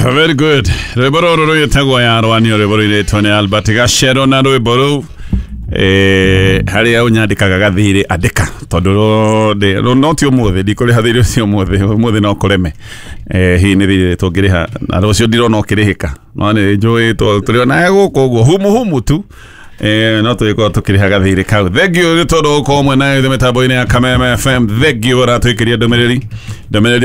Very good. Rwĩmbo rũrũ rwĩtagwo yarwanio, rwĩmbo rũirĩtwo nĩ Albert Gacero, na rwĩmbo rũu harĩa ũnyandĩkaga gathirĩ andĩka, tondũ no ti ũmũthĩ, ndikũrĩha thirĩ ũcio ũmũthĩ, ũmũthĩ no kũreme. Hihi nĩ thirĩ tũngĩrĩha na rũciũ ndirona ũkĩrĩhĩka, no nĩ njũĩ tũrĩ onaye gũkũ ũguo humu humu tu, no tũgĩkorwo tũkĩrĩha gathirĩ kau. Thank you nĩ tondũ gũkorwo mwena ithuĩ mĩtambo-inĩ ya Kameme FM. Thank you ũratwĩkĩria ndũmĩrĩri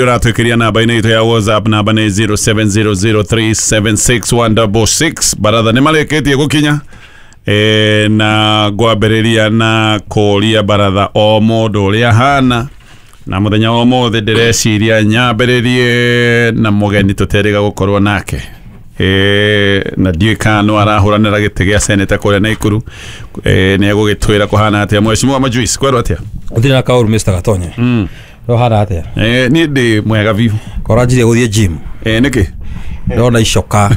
ũratwĩkĩria namba-inĩ itũ ya WhatsApp, namba nĩ 0700376166. Baratha nĩ marĩkĩtie gũkinya, na ngwambĩrĩria na kũria baratha o mũndũ ũrĩa hana na mũthenya wa ũmũthĩ. Ndĩreciria nyambĩrĩrie na mũgeni tũterĩga gũkorwo nake, na ndiũĩ kana no arahũranĩra gĩtĩ gĩa seneta kũrĩa Naikuru. Nĩ egũgĩtwĩra kũhana atĩa. Mheshimiwa Majuice, kwerwo atĩa? Ũtirĩ na kaũru, Mr. Gatonye. No hana atĩa? Niĩ ndĩ mwega biũ. Koranjirie gũthiĩ gym. Nĩkĩ? Ndona icoka.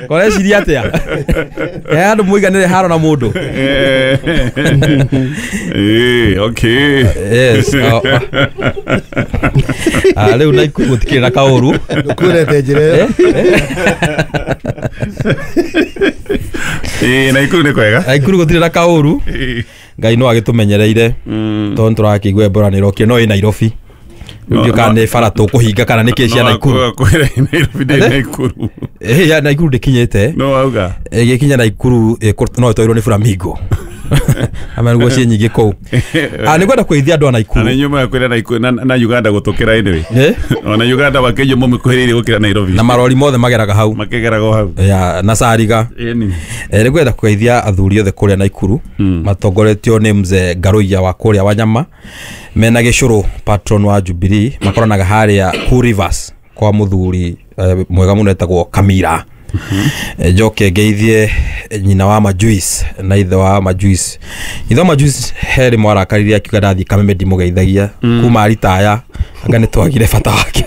Koreciria atĩa? Andũ mũiganĩre haro na mũndũ. Okay. Yes. Oh, oh. Ah, rĩu Naikuru gũtikĩrĩ na kaũru. Ndũkwĩrete njĩra ĩyo. Naikuru nĩ kwega. Naikuru gũtirĩ na kaũru. Ngai no agĩtũmenyereire, tondũ tũrakĩigua Ebola nĩ ĩrokire, no ĩ Nairobi. Rĩu ndiũ kana nĩ bara tũkũhinga kana nĩ kĩ cia Naikuru. Kwĩra Nairobi ndĩ Naikuru. Ya Naikuru ndĩkinyĩte. No wauga. Ĩgĩkinya Naikuru no ĩtwairwo nĩ flamingo ama nĩguo ciĩ nyingĩ kũu. Ah, nĩ ngwenda kũgeithia andũ a Naikuru. Na inyuĩ mũgakwĩra Naikuru na Uganda gũtũkĩra anyway. Ona Uganda wakĩnyuo mũmĩkuhĩrĩirie gũkĩra Nairobi. Na marori mothe mageraga hau. Makĩgeraga o hau. Ya, na Sariga. Ĩni. Nĩ ngwenda kũgeithia athuri othe kũrĩa Naikuru matongoretio nĩ mzee Ngaruiya wa kũrĩa Wanyama mena gĩcũrũ patron wa Jubilee, makoranaga harĩa Cool Rivers kwa mũthuri mwega mũno etagwo Kamira. Njoke ngeithie nyina wa Majuice na ithe wa Majuice. Ithe wa Majuice he rĩmwe arakarire akiuga ndathiĩ Kameme ndimũgeithagia kuma aritaya, anga nĩ twagire bata wake.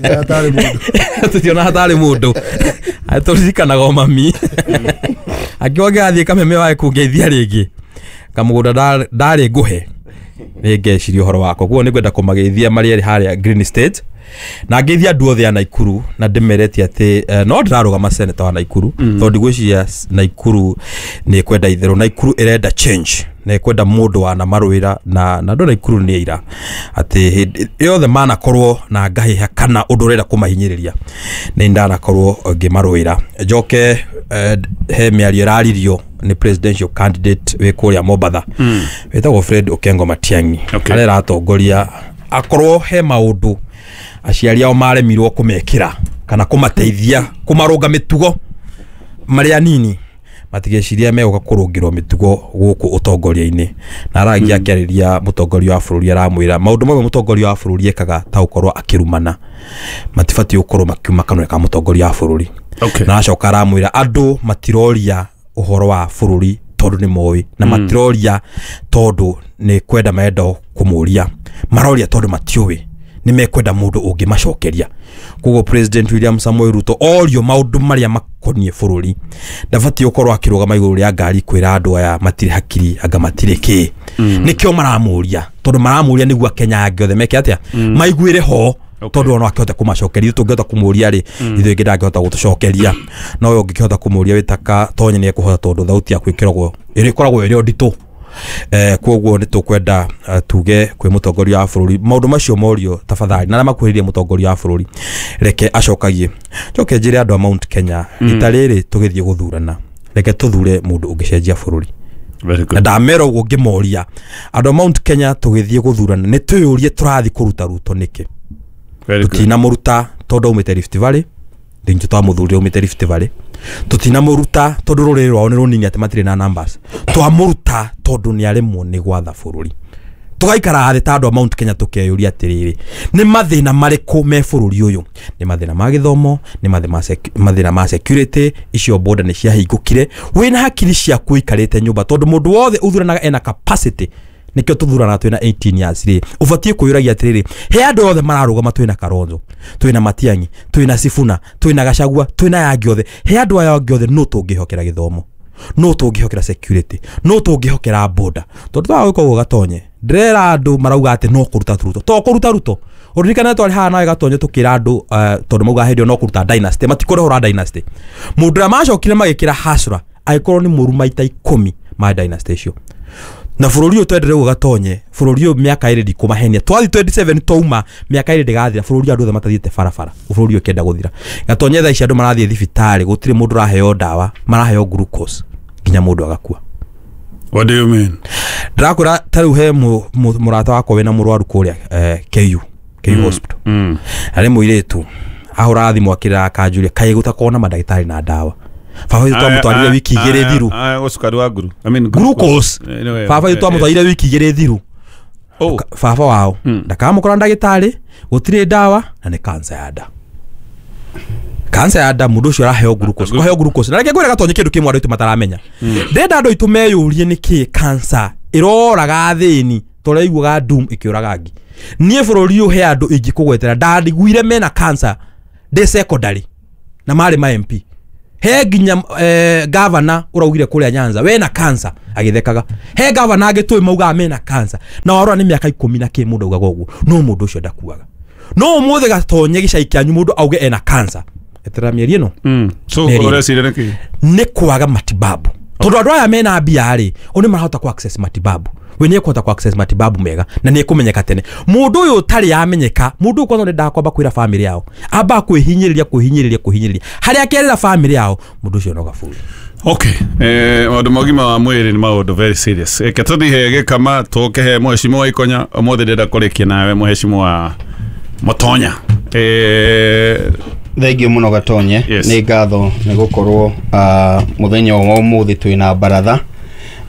Hatarĩ mũndũ. Tũtiona hatarĩ mũndũ tũririkanaga o mami akiuga ngĩgathiĩ Kameme wae kũngeithia rĩngĩ kamũgũnda ndarĩ ngũhe nĩ ngeciria ũhoro wakwa. Koguo nĩ ngwenda kũmageithia marĩ erĩ harĩa Green State, na ngeithia andũ othe a Naikuru na ndĩmerete atĩ no ndĩrarũgama seneta wa Naikuru, tondũ ndigwĩciria Naikuru nĩ ĩkwenda itherũ. Naikuru ĩrenda change na ĩkwenda mũndũ wanamarũĩra, na andũ a Naikuru nĩ aira atĩ hĩndĩ yothe manakorwo na ngahĩha kana ũndũ ũrenda kũmahinyĩrĩria nĩ ndanakorwo ngĩmarũĩra. Njoke he mĩario ĩraririo nĩ presidential candidate wĩ kũrĩa Mombatha wĩtagwo Fred Okengo Matiang'i. Arĩa aratongoria akorwo he maũndũ aciari ao maremirwo kũmekĩra kana kũmateithia kũmarũnga mĩtugo marĩ anini, matigeciria megũka kũrũngĩrwo mĩtugo gũkũ ũtongoria-inĩ. Na aragia akĩarĩria mũtongoria wa bũrũri, aramwĩra maũndũ mamwe mũtongoria wa bũrũri ekaga ta gũkorwo akĩrumana matibatiĩ gũkorwo makiuma kanua ka mũtongoria wa bũrũri. Na acoka aramwĩra andũ matiroria ũhoro wa bũrũri tondũ nĩ moĩ, na matiroria tondũ nĩ kwenda marenda kũmũria, maroria tondũ matiũĩ, nĩ mekwenda mũndũ ũngĩmacokeria. Koguo President William Samoei Ruto orio maũndũ marĩa makoniĩ bũrũri ndabatiĩ gũkorwo akĩrũgama igũrũ rĩa ngari kwĩra andũ aya matirĩ hakiri anga matirĩ kĩ. Nĩkĩo maramũria, tondũ maramũria nĩguo Akenya angĩ othe meke atĩa, maiguĩre ho, tondũ ona akĩhota kũmacokeria. Tũngĩhota kũmũria rĩ, ithuĩ ingĩ ndangĩhota gũtũcokeria, no we ũngĩkĩhota kũmũria wĩtaka Tonye nĩ ekũhota, tondũ thauti yaku ĩkĩragwo ĩrĩkoragwo ĩrĩ o nditũ. Koguo nĩ tũkwenda tuge kwĩ mũtongoria wa bũrũri maũndũ macio morio tafadhali, na arĩa makuhĩrĩirie mũtongoria wa bũrũri reke acokagie. Njoke njĩre andũ a Mount Kenya, rita rĩrĩ tũgĩthiĩ gũthurana reke tũthure mũndũ ũngĩcenjia bũrũri. Very good. Na ndamera ũguo ngĩmoria andũ a Mount Kenya, tũgĩthiĩ gũthurana nĩ twĩyũrie tũrathiĩ kũruta Ruto nĩkĩ. Very good. Tũtinamũruta tondũ aumĩte Rift Valley, ningĩ twamũthurire aumĩte Rift Valley. Tũtinamũruta tondũ rũrĩrĩ rwao nĩ rũnini atĩ matirĩ na numbers. Twamũruta tondũ nĩ aremwo nĩ gwatha bũrũri. Tũgaikara thĩ ta andũ a Mount Kenya tũkeyũria atĩrĩrĩ, nĩ mathĩna marĩkũ me bũrũri ũyũ? Nĩ mathĩna ma gĩthomo, nĩ mathĩna ma security, icio border nĩ ciahingũkire. Wĩna hakiri ciaku ũikarĩte nyũmba, tondũ mũndũ wothe ũthuranaga ena capacity, nĩkĩo tũthuranaga twĩna 18 years rĩ, ũbatiĩ kwĩyũragia atĩrĩrĩ, he andũ othe mararũgama, twĩna Kalonzo, twĩna Matiang'i, twĩna Sifuna, twĩna Gachagua, twĩna aya angĩ othe, he andũ aya angĩ othe nũ tũngĩhokera gĩthomo, nũ tũngĩhokera security, nũ tũngĩhokera border? Tondũ twaga gwĩka ũguo Gatonye, Ndĩrera andũ marauga atĩ no kũruta Ruto. To kũruta Ruto. Ũririkane twarĩ haha nawe Gatonye tũkĩra andũ tondũ mauga hĩndĩ ĩyo no kũruta dynasty, matikũrehũra dynasty. Mũndũ ũrĩa macokire magĩkĩra hasra agĩkorwo nĩ mũru maita 10 ma dynasty icio. Na bũrũri ũyũ twendere ũguo Gatonye, bũrũri ũyũ mĩaka ĩrĩ ndikũmahenia. Twathiĩ 27 twauma mĩaka ĩrĩ ndĩgathira, bũrũri andũ othe matathiĩte barabara, bũrũri ũyũ ũkĩenda gũthira. Gatonye thaa ici andũ marathiĩ thibitarĩ, gũtirĩ mũndũ ũraheo ndawa, maraheo glucose nginya mũndũ agakua. What do you mean? Ndĩrakwĩra ta rĩu he mũrata wakwa wĩna mũrwaru kũrĩa KU hospital. Arĩ mũirĩtu ahũraga thimũ akĩrĩra akanjũria kaĩ gũtakorwo na mandagĩtarĩ na ndawa. Baba witũ twamũtwarire wiki igĩrĩ thiru. Cukari wa nguru. I mean glucose. Baba witũ twamũtwarire wiki igĩrĩ thiru. Baba wao ndakamũkora ndagĩtarĩ, gũtirĩ ndawa na nĩ cancer ya nda. Cancer ya nda mũndũ ũcio araheo glucose. Kũheo glucose. Na reke ngwĩre Gatonye kĩndũ kĩmwe andũ aitũ mataramenya. Ndĩrenda andũ aitũ meyũrie nĩkĩ cancer ĩroraga athĩni tũraiguaga doom ĩkĩũraga ngi. Niĩ bũrũri ũyũ he andũ ingĩkũgwetera ndariguire mena cancer ndĩ secondary na marĩ ma MP. He nginya governor ũraugire kũrĩa Nyanza wena cancer agĩthekaga. He governor angĩ tũĩ maugaga mena cancer na warora nĩ mĩaka 10 na kĩ mũndũ augaga ũguo, no mũndũ ũcio ndakuaga. No ũmũthĩ Gatonye gĩcai kĩanyu mũndũ auge ena cancer eterera mĩeri ĩno. So ũreciria nĩkĩ? Nĩ kwaga matibabu. Tondũ andũ aya mena mbia rĩ, o nĩ marahota ku access matibabu. We nĩ ekũhota ku access matibabu mega na nĩ ekũmenyeka tene. Mũndũ ũyũ ũtarĩ amenyeka, mũndũ ũyũ kwanza nĩ kwamba kwĩra family yao. Amba kwĩhinyĩrĩria kwĩhinyĩrĩria kwĩhinyĩrĩria. Harĩa akerĩra family yao, mũndũ ũcio no gaburi. Okay. Maũndũ ma ũgima wa mwĩrĩ nĩ maũndũ very serious. Reke tũthiĩ gĩkama tũke he mheshimiwa Ikonya, ũmũthĩ ndĩrenda kũrĩkia nawe mheshimiwa Mũtonya. Thengiũ mũno Gatonye. Yes. Nĩ ngatho nĩ gũkorwo mũthenya wa ũmũthĩ twĩna baratha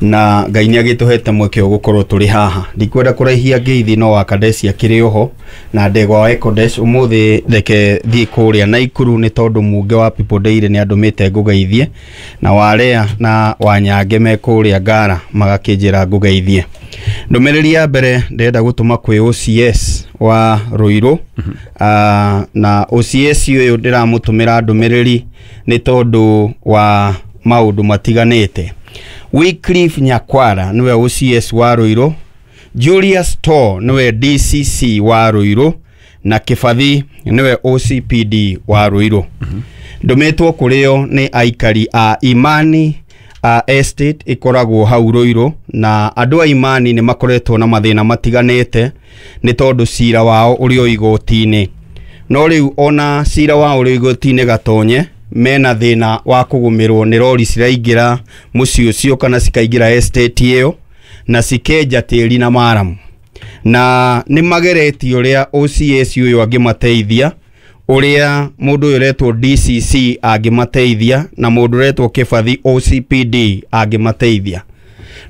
na Ngai nĩ agĩtũhete mweke wa gũkorwo tũrĩ haha. Ndikwenda kũraihia ngeithi no wa Kadesh akĩrĩ oho na ndegwa wa Ekodesh. Ũmũthĩ reke thiĩ kũrĩa Naikuru nĩ tondũ mũnge wa People Daily nĩ andũmĩte ngũgeithie, na Warea na Wanyange me kũrĩa Ngara magakĩnjĩra ngũgeithie. Ndũmĩrĩri ya mbere ndĩrenda gũtũma kwĩ OCS wa Ruiru. Na OCS ũyũ ndĩramũtũmĩra ndũmĩrĩri nĩ tondũ wa maũndũ matiganĩte. Wycliffe Nyakwara niwe OCS wa Ruiru, Julius Tor niwe DCC wa Ruiru na Kibathi niwe OCPD wa Ruiru. Ndũmĩtwo kũrĩo nĩ aikari a Imani Estate ĩkoragwo hau Ruiru, na andũ a Imani nĩ makoretwo na mathĩna matiganĩte nĩ tondũ cira wao ũrĩ o igoti-inĩ. No rĩu ona cira wao ũrĩ igoti-inĩ Gatonye, mena thĩna wa kũgũmĩrwo nĩ rori ciraingĩra mũciĩ ũcio kana cikaingĩra estate ĩyo na cikenja tĩri na maramu. Na nĩ mageretie ũrĩa OCS ũyũ angĩmateithia, ũrĩa mũndũ ũyũ ũretwo DCC angĩmateithia na mũndũ ũretwo Kĩbathi OCPD angĩmateithia.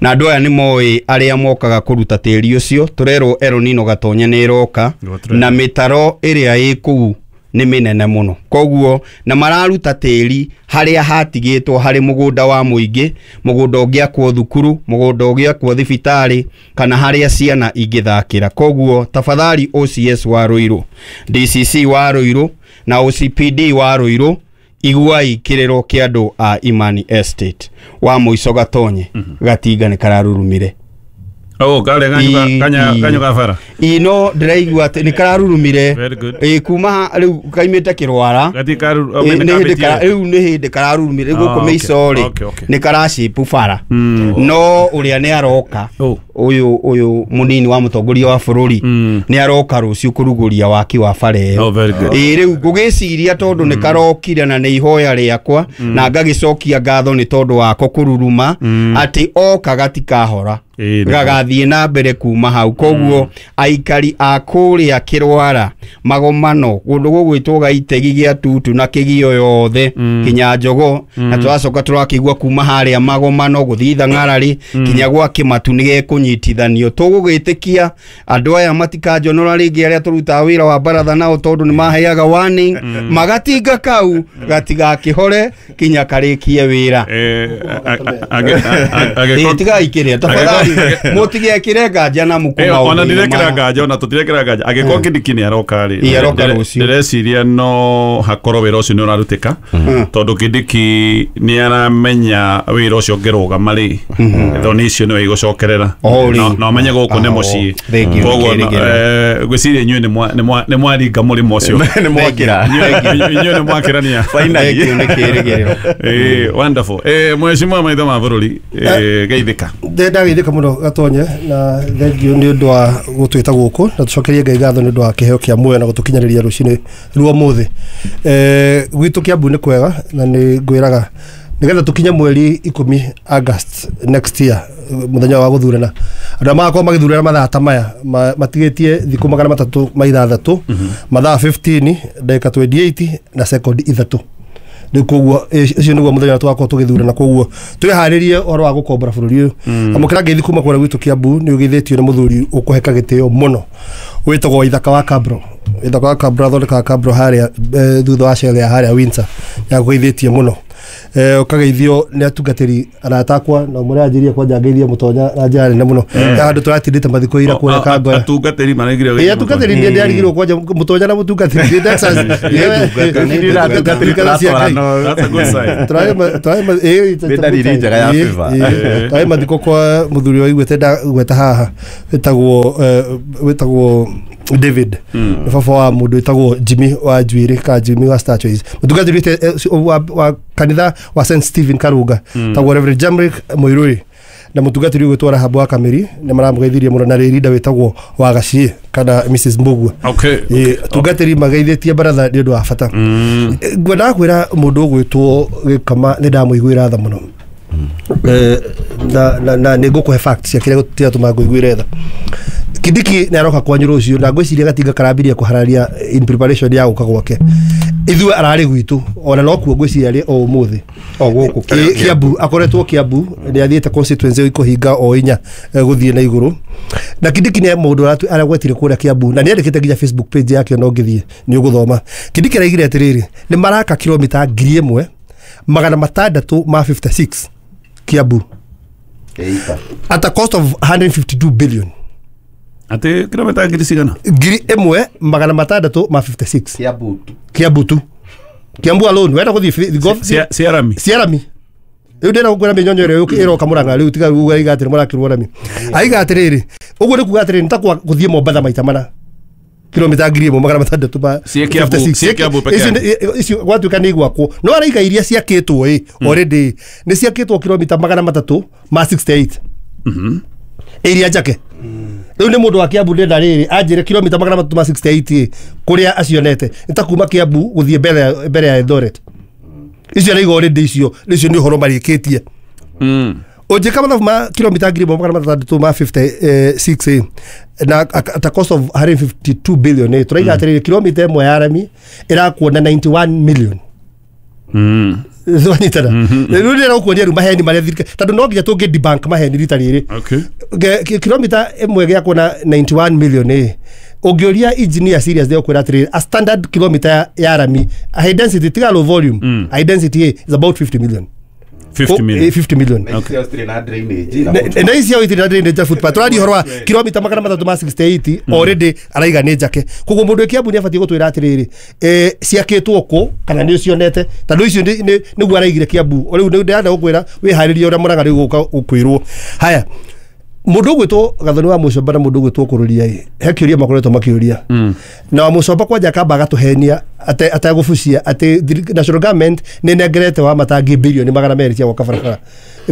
Na andũ aya nĩ moĩ arĩa mokaga kũruta tĩri ũcio. Tũrerwo El Nino Gatonye nĩ ĩroka na mĩtaro ĩrĩa ĩ kũu nĩ mĩnene mũno, koguo na mararuta tĩri harĩa hatigĩtwo harĩ mũgũnda wa mũingĩ, mũgũnda ũngĩakwo thukuru, mũgũnda ũngĩakwo thibitarĩ kana harĩa ciana ingĩthakĩra. Koguo tafadhali OCS wa Ruiru, DCC wa Ruiru na OCPD wa Ruiru, iguai kĩrĩro kĩa andũ a Imani Estate. Wa mũico Gatonye, gatinga nĩ kararurumire. Oh, kare kanyo gabara. Ino ndĩraigua atĩ nĩ kararurumire. Very good. Kuma rĩu kaimĩte kĩrwara. Rĩu nĩ hĩndĩ kararurumire gũkũ mĩico rĩ nĩ karacipu bara. No ũrĩa nĩ aroka ũyũ mũnini wa mũtongoria wa bũrũri nĩ aroka rũciũ kũrugũria waki wa bara ĩyo. Rĩu ngũgĩciria tondũ nĩ karokire na nĩ ihoya rĩakwa na ngagĩcokia ngatho nĩ tondũ wako kũruruma atĩ oka gatikahora gagathiĩ na mbere kuma hau. Koguo aikari a kũrĩa Kĩrwara, Magomano, kũndũ gũgwĩtwo Gaitegi gĩa Tutu na Kĩgio yothe kinya Njogo, na tũracoka tũrakĩigua kuma harĩa Magomano gũthiĩ Thang'ararĩ kinya gwa Kĩmatu nĩ gekũnyitithanio. Tũgũgĩtĩkia andũ aya matikanjonora rĩngĩ arĩa tũrutaga wĩra wa baratha nao tondũ nĩ maheaga warning, magatinga kau gatigakĩhore kinya karĩkie wĩra. Tigaikĩrĩa tafadhali, mũtigekĩre nganja na mũkũ maũndũ. Ona ndirekĩra nganja, ona tũtirekĩra nganja. Angĩkorwo Kindiki nĩ aroka rĩ, aroka rũciũ, ndĩreciria no hakorwo wĩra ũcio nĩ ũrarutĩka, tondũ Kindiki nĩ aramenya wĩra ũcio ũngĩrũgama rĩ, thoni icio nĩwe igũcokerera. No menye gũkũ nĩ mũciĩ. Koguo ngwĩciria inyuĩ nĩ mwaringa mũrĩmo ũcio. Nĩ mwakĩra. Inyuĩ nĩ mwakĩrania. Finally. Nĩ kĩrĩgĩrĩro. Wonderful. Mheshimiwa maitho ma bũrũri, geithĩka. Ndageithĩka mũno Gatonye, na thengiũ nĩ ũndũ wa gũtwĩta gũkũ, na tũcokerie Ngai ngatho nĩ ũndũ wa kĩheo kĩa muoyo na gũtũkinyanĩria rũcinĩ rwa ũmũthĩ. Gwitũ Kiambu nĩ kwega, na nĩ ngwĩraga nĩgetha tũkinye mweri 10 August next year, mũthenya wa gũthurana, andũ arĩa magakorwo magĩthurana mathaa ta maya matigĩtie thikũ 306, mathaa 15 ndagĩka 28 na sekondi 3. Rĩu koguo ũcio nĩguo mũthenya tũgakorwo tũgĩthurana, koguo twĩharĩrie ũhoro wa gũkombora bũrũri ũyũ. Amũkĩra ngeithi kuma kũrĩa gwitũ Kiambu, nĩ ũgeithĩtio nĩ mũthuri ũkũheka gĩtĩo mũno wĩtagwo Ithaka wa Kabro. Ithaka wa Kabro athondekaga Kabro harĩa thutha wa Shell ya harĩa Windsor, nĩakũgeithĩtie mũno. Ũkageithio nĩ atungatĩri arata akwa, na ũmwe anjĩrie kwanja ngeithie Mũtonya na njĩra nene mũno. Handũ tũratindĩte mathikũ ira kũrĩa Kangoya. Atungatĩri maraigire ũgeithie. Atungatĩri nĩ ndĩarigirwo kwanja Mũtonya na mũtungatĩri nĩ Texas. Tũrarĩ mathiko kwa mũthuri wa igwete ndagweta haha wĩtagwo David, nĩ baba wa mũndũ wĩtagwo Jimmy wa Njuĩrĩ ka Jimmy wa Star Choice, mũtungatĩri wa kanitha wa St Stephen Karunga tagwo Reverend Jamrick Muiruri, na mũtungatĩri ũgwĩtwo Rahabu wa Kamĩri nĩ maramũgeithirie mũno, na rĩrinda wĩtagwo wa Gaciĩ kana Mrs Mbugua. Atungatĩri mageithĩtie baratha nĩ ũndũ wa bata. Ngwendaga kwĩra mũndũ ũgwĩtwo Gĩkama nĩ ndamũiguĩra tha mũno, na nĩ ngũkũhe facts cia kĩrĩa kĩratũma ngũiguĩre tha. Kindiki nĩ aroka kwanyu rũciũ, na ngwĩciria gatinga karambirie kũhararia in preparation ya gũka gwake. Ithuĩ ararĩ gwitũ, ona no kuo ngwĩciria arĩ o ũmũthĩ. O gũkũ Kiambu, akoretwo Kiambu, nĩ athiĩte constituency ikũhinga o inya gũthiĩ na igũrũ. Na Kindiki nĩ mũndũ aragwetire kũrĩa Kiambu, na nĩ andĩkĩte nginya Facebook page yake, ona ũngĩthiĩ nĩ ũgũthoma. Kindiki araigire atĩrĩrĩ, nĩ maraka kilomita 1656 Kiambu at a cost of 152 billion. Ati kilomita ngiri cigana? 1656 Kiambu tu. Kiambu alone wenda gũthiĩ Ciarami. Ciarami. Rĩu ndĩrenda gũkwĩra mĩnyonyo ĩrĩa ĩroka Mũrang'a rĩu tiga uga aiga atĩrĩ mũrakĩrwo rami. Aiga atĩrĩrĩ, ũguo nĩ kuga atĩrĩrĩ nĩ ta gũthiĩ Mombatha maita mana. Kilomita 1656 peke yake. Icio gwatuĩka nĩ igwakwo. No araiga iria ciakĩtwo ĩ already nĩ ciakĩtwo kilomita 368. Iria njake. Rĩu nĩ mũndũ wa Kiambu ndĩrenda rĩrĩ anjĩre kilomita 368 kũrĩa acionete nĩ ta kuma Kiambu gũthiĩ mbere ya Eldoret. Icio araiga already icio nĩ ũhoro marĩkĩtie. Ũnjĩka mathabu ma kilomita 1656 na at a cost of 152 billion tũraiga atĩrĩrĩ kilomita ĩmwe ya rami ĩrakuona 91 million. Wanyitana. Rĩu ndĩrenda gũkuonia rĩu maheni marĩa thirikari, tondũ no nginya tũngĩ debunk maheni rita rĩrĩ. Kilomita ĩmwe gĩakuona 91 million ũngĩũria engineer serious nĩ ũkwĩra atĩrĩrĩ a standard kilometer ya rami high density tiga low volume, high density is about 50 million. 50 million. 50 million. Na icio itirĩ na drainage footpath. Tũraria ũhoro wa kilomita 368 already araiga nĩ njake. Koguo mũndũ wĩ Kiambu nĩ abatiĩ gũtwĩra atĩrĩrĩ, ciakĩtwo kũ kana nĩ ũcionete, tondũ icio nĩguo araigire Kiambu. Rĩu ndĩrenda gũkwĩra wĩharĩrie ũrĩa Mũrang'a rĩu gũka gũkwĩrwo. Haya, mũndũ ũgwĩtwo Gathoni wa Mũcomba na mũndũ ũgwĩtwo Kũrũria ĩ, he kĩũria makoretwo makĩũria. Na wa Mũcomba kwanja akamba agatũhenia ategũbucia atĩ national government nĩ ĩnengerete wa matangi bilioni 200 cia gwaka barabara.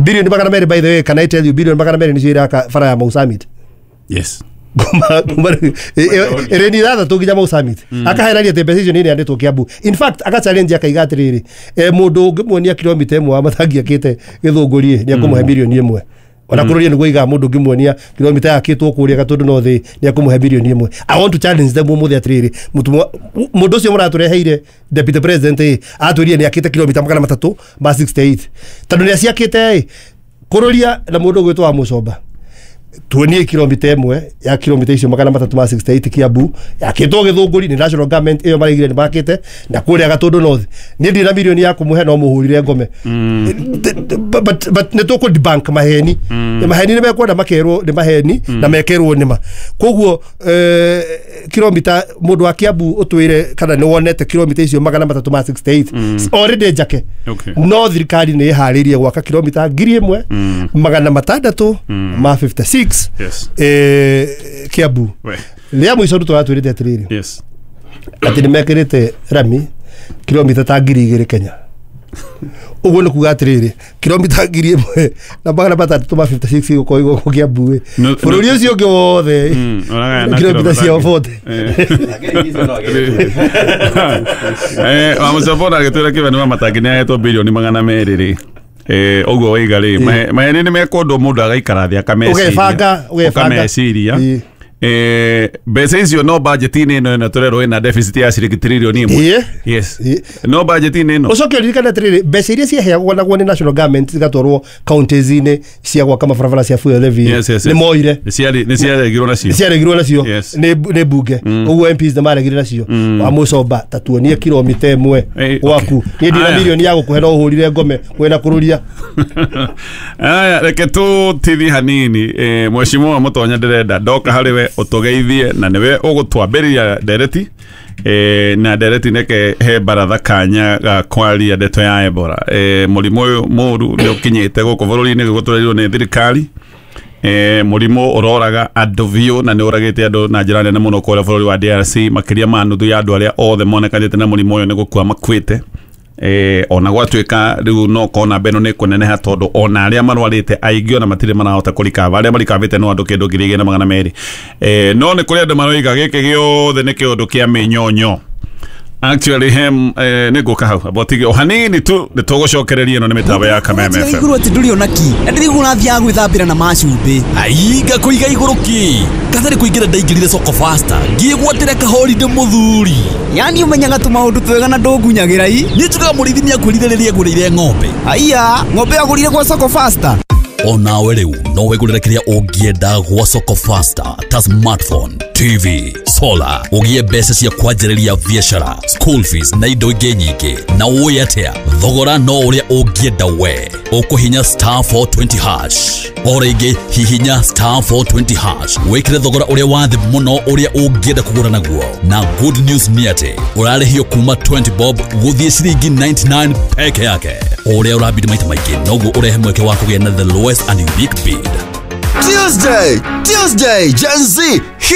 Bilioni 200 by the way, can I tell you, bilioni 200 nĩcio iraka bara ya Mau Summit. Yes. Ĩrĩ ni ithathatũ nginya Mau Summit. Akaherania atĩ mbeca icio nĩ ineanĩtwo Kiambu. In fact, aka challenge akaiga atĩrĩrĩ, mũndũ ũngĩmuonia kilomita ĩmwe wa matangi akĩte Gĩthũngũri ĩ, nĩ ekũmũhe milioni 1. Ona kũrũria nĩguo aigaga mũndũ ũngĩmuonia kilomita yakĩtwo kũrĩa Gatũndũ North nĩ ekũmũhe milioni 1. I want to challenge them ũmũthĩ atĩrĩrĩ, mũndũ ũcio mũratũreheire deputy president ĩ, atwĩrire nĩ akĩte kilomita 368. Tondũ nĩ aciakĩte ĩ, kũrũria na mũndũ ũgwĩtwo wa Mũcomba, tuonie kilomita ĩmwe ya kilomita icio 368 Kiambu yakĩtwo Gĩthũngũri nĩ national government ĩyo maraigire nĩ makĩte, na kũrĩa Gatũndũ North niĩ ndirĩ na milioni ya kũmũhe no mũhũrire ngome. But nĩ tũkũ debunk maheni. Maheni nĩ mekwenda makerwo nĩ maheni na mekerwo nĩ ma. Koguo kilomita mũndũ wa Kiambu ũtwĩre kana nĩ wonete kilomita icio 368 already njake. No thirikari nĩ ĩharĩirie gwaka kilomita 1656 56 Yes. Kiambu. We. Rĩa mũico Ruto atwĩrĩte atĩrĩrĩ Yes. atĩ nĩ mekĩrĩte rami kilomita ta 2000 Kenya. Ũguo nĩ kuga atĩrĩrĩ, kilomita 1656 gũkorwo igũkũ Kiambu ĩ. No- Bũrũri no- ũcio ũngĩ wothe Ũragayana kilomita cia 40. Wamũcobora agĩtwĩra kĩbani wa matangi nĩ ahetwo birioni 200 rĩ. Ũguo waiga rĩ, maheni nĩ mekũndũ mũndũ agaikara thĩ akameciria. Ũgebanga, ũgebanga. Ũkameciria. Ĩĩ. Mbeca icio no budget-inĩ ĩno ĩno tũrerwo ĩna deficit ya ciringi tririoni 1. Ĩĩ. Yes. Ĩĩ. No budget-inĩ ĩno. Ũcoke ũririkane atĩrĩrĩ, mbeca iria ciaheagwo nagwo nĩ national government cigatwarwo counties-inĩ cia gwaka mabarabara cia fuel levy Yes, yes, nĩ yes. moire. Nĩ ciaregirwo nacio. Nĩ ciaregirwo nacio Yes. nĩ mbunge. Ũguo MPs nĩ maregire nacio. Wamũcomba ta tuonie kilomita 1 gwaku. Niĩ ndina Aya. milioni ya gũkũhe no ũhũrire ngome mwena kũrũria. Aya, reke tũtithie hanini. Mheshimiwa Mũtonya ndĩrenda ndoka harĩ we ũtũgeithie na nĩwe ũgũtwambĩrĩria ndereti. Na ndereti neke he baratha kanya ga kwaria ndeto ya Ebola. Mũrimũ ũyũ mũru nĩ ũkinyĩte gũkũ bũrũri-inĩ gũtũrĩirwo nĩ thirikari. Mũrimũ ũroraga andũ biũ na nĩ ũragĩte andũ na njĩra nene mũno kũrĩa bũrũri wa DRC, makĩria ma nuthu ya andũ arĩa othe monekanĩte na mũrimũ ũyũ nĩ gũkua makuĩte. Ona gwatuĩka rĩu no kona mbeno nĩ kũneneha tondũ ona arĩa marwarĩte aingĩ ona matirĩ marahota kũrikava, arĩa marikavĩte no andũ kĩndũ 2200. No nĩ kũrĩ andũ maroiga gĩkĩ gĩothe nĩ kĩũndũ kĩa mĩnyonyo. Actually hem nĩ ngũka hau abotige o hanini tu nĩ tũgũcokereria ĩno nĩ mĩtambo ya Kameme Ũratiga FM. igũrũ atĩ ndũrĩ ona ki na ndĩraigua ũrathiaga gwĩthambĩra na macumbĩ. Ainga kũiga igũrũ ki katarĩ kũingĩra ndaingĩrire soko faster ngĩgwatĩra kahorinde mũthuri. Yani ũmenyaga tũmaũndũ twega na ndũngunyagĩra i. Niĩ njugaga mũrĩithi nĩakwĩrire rĩrĩa agũrĩire ng'ombe. Aiya, ng'ombe agũrire gwa soko faster. Onawe rĩu no wĩgũrĩre kĩrĩa ũngĩenda gwa soko faster ta smartphone, TV, solar, ũgĩe mbeca cia kwanjĩrĩria biacara, school fees na indo ingĩ nyingĩ. Na ũĩ atĩa, thogora no ũrĩa ũngĩenda we. Ũkũhinya star 420 hash. O rĩngĩ hihinya star 420 hash wĩkĩre thogora ũrĩa wa thĩ mũno ũrĩa ũngĩenda kũgũra naguo. Na good news nĩ atĩ ũrarĩhio kuma 20 bob gũthiĩ ciringi 99 peke yake. Ũrĩa ũrabidi maita maingĩ noguo ũrehe mweke wa kũgĩa na the lowest and unique bid. Tuesday, Tuesday, Gen Z.